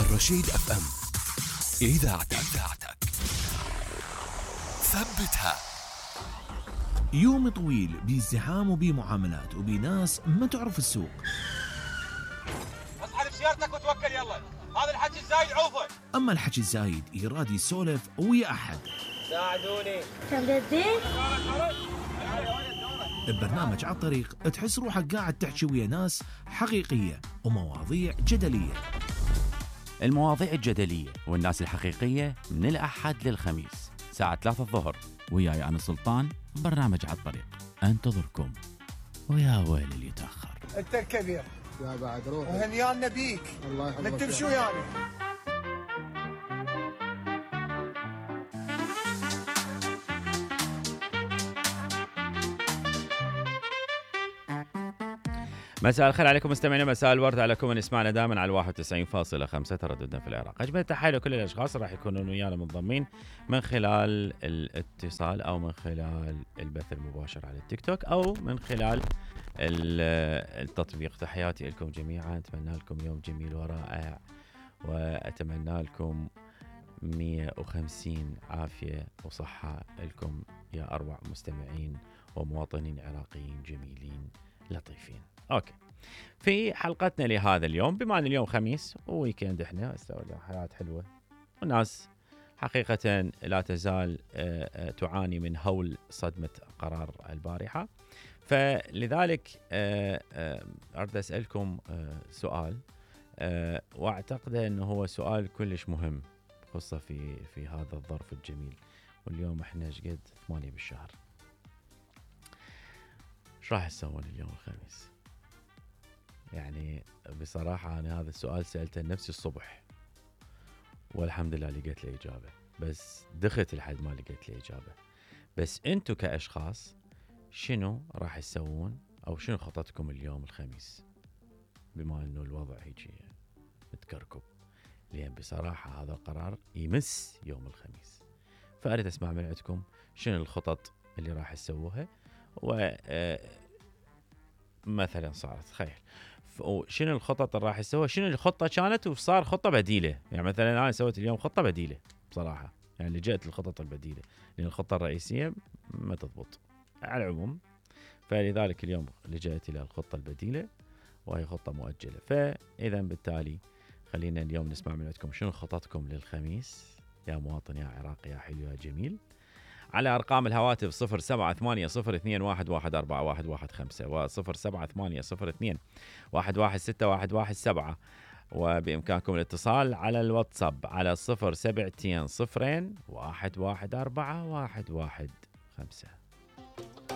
الرشيد اف ام، اذاعتك ثبتها. يوم طويل بازدحام وبمعاملات وبناس ما تعرف السوق. اصحى بسيارتك وتوكل يلا، هذا الحكي الزايد عوفه. اما الحكي الزايد يراد يسولف ويا احد. ساعدوني. تمددين؟ ببرنامج على الطريق تحس روحك قاعد تحكي ويا ناس حقيقية ومواضيع جدلية. المواضيع الجدلية والناس الحقيقية من الأحد للخميس ساعة 3 الظهر، وياي أنا سلطان. برنامج على الطريق أنتظركم، ويا ويل اللي يتأخر. انت الكبير يا بعد روح وهنيانا بيك. الله يحفظك. ما تمشوا يعني. مساء الخير عليكم مستمعينا، مساء الورد عليكم من يسمعنا دائما على 91.5 ترددنا في العراق. أجمل تحية لكل الأشخاص راح يكونون ويانا منضمين من خلال الاتصال أو من خلال البث المباشر على التيك توك أو من خلال التطبيق. تحياتي لكم جميعا، أتمنى لكم يوم جميل ورائع، وأتمنى لكم 150 عافية وصحة لكم يا أروع مستمعين ومواطنين عراقيين جميلين لطيفين. اوكي، في حلقتنا لهذا اليوم، بما ان اليوم خميس وويكند، احنا استوى حياة حلوة والناس حقيقة لا تزال تعاني من هول صدمة قرار البارحة. فلذلك أريد أسألكم سؤال، واعتقد انه هو سؤال كلش مهم، خاصة في هذا الظرف الجميل. واليوم احنا شقد 8 بالشهر، ايش راح تسوون اليوم الخميس؟ يعني بصراحة أنا هذا السؤال سألته لنفسي الصبح، والحمد لله لقيت له إجابة، بس دخلت لحد ما لقيت له إجابة. بس أنتوا كأشخاص شنو راح تسوون أو شنو خطتكم اليوم الخميس، بما أنه الوضع هيجي متكركب؟ لأن بصراحة هذا القرار يمس يوم الخميس، فأريد أسمع من عندكم شنو الخطط اللي راح تسووها. مثلا صارت خير، شنو الخطط اللي راح يسويها، شنو الخطة كانت وصار خطة بديلة. يعني مثلا أنا سويت اليوم خطة بديلة بصراحة، يعني لجأت للخطط البديلة لأن الخطة الرئيسية ما تضبط على العموم، فلذلك اليوم لجأت إلى الخطة البديلة وهي خطة مؤجلة. فإذا بالتالي خلينا اليوم نسمع من عندكم شنو خططكم للخميس يا مواطن يا عراقي يا حلو يا جميل، على أرقام الهواتف 078021141115 و078021161117، وبإمكانكم الاتصال على الواتساب على 072 0114 115.